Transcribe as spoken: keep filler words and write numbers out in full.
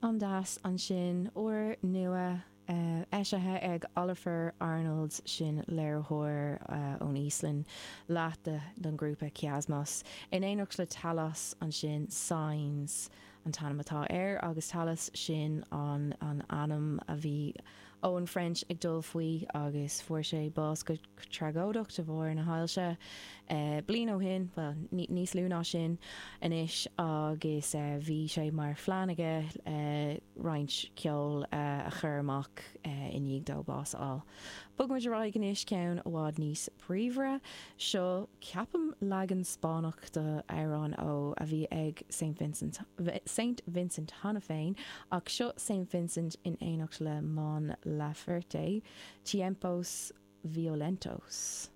An-deas ansin, úr nua eisithe ag Ólafur Arnalds, sin léiritheoir ón Íoslainn, leath de den ghrúpa Kiasmos, in éineacht le Talos ansin, Signs an t-ainm atá air agus Talos sin an an ainm a bhí Owen French ag dul faoi agus fuair sé bás go tragóideach de bharr na hailse bliain ó shin, bhuel, níos lú ná sin anois agus bhí sé mar phlean aige roinnt ceoil a chur amach i ndiaidh dó bás a fháil. Bogfaimid ar aghaidh anois ceann i bhfad níos bríomhaire. Seo, ceapaim, leagan Spáinneach d'amhrán ó a bhí ag Saint Vincent, Saint Vincent cheana féin, ach seo Saint Vincent in éineacht le Mon Laferte, Tiempos Violentos.